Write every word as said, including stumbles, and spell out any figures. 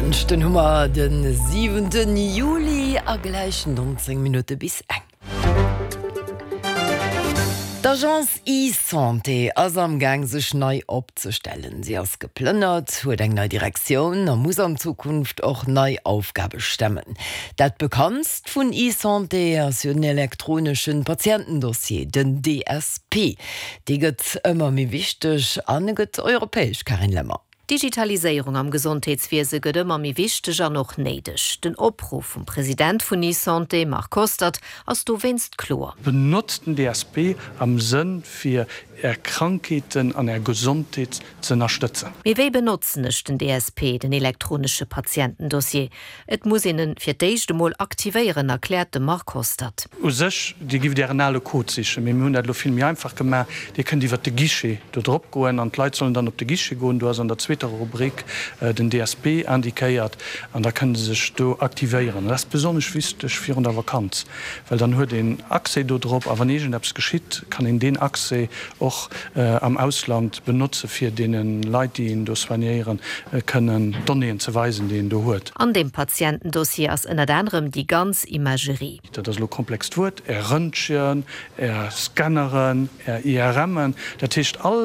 Dënschden hu mer de siwenten Juli a gläich nonzéng Minutte bis eng. D'Agence eSanté ass am Gaang sech nei opzestellen. Si ass geplënnert, huet eng nei Direktioun a muss an Zukunft och nei Aufgabe stemmen. Dat bekanntst vun eSanté ass jo den elektroneschen Patientendossier, den D S P. Dee gëtt ëmmer méi wichteg an e gëtt europäesch, Carine Lemmer. D'Digitaliséierung am Gesondheetswiese gëtt ëmmer méi wichteg an och néideg. Den Opruff vum President vun eSanté, Marc Hostert, ass dowéinst kloer. Benotzt den D S P am Sënn fir är Krankheeten an är Gesondheet ze ënnerstëtzen. Mee wéi benotzen ech den D S P, den elektronesche Patientendossier? Et muss een en fir d'éischt emol aktivéieren, erkläert de Marc Hostert. U sech, Dir gift Ären ale Code sichen, mee mir hunn dat elo vill méi einfach gemaach. Dir kënnt iwwer de Guichet do drop goen an d'Leit sollen dann op de Guichet goen. Do ass an der zweeter Rubrik den D S P indiquéiert an da kënne se sech do aktivéieren. Dat ass besonnesch wichteg virun der Vakanz, well dann huet een Accès do drop a wann iergendeppes geschitt, kann een deen Accès och am Ausland benotze fir deene Leit, déi een do soignéieren, kënnen d'Donnéeën ze weisen, déi een do huet. An deem Patientendossier ass ënnert anerem déi ganz Imagerie. Dat ass elo e komplext Wuert, Är Röntgen, Är Scanneren, Är I R M'en, dat heescht all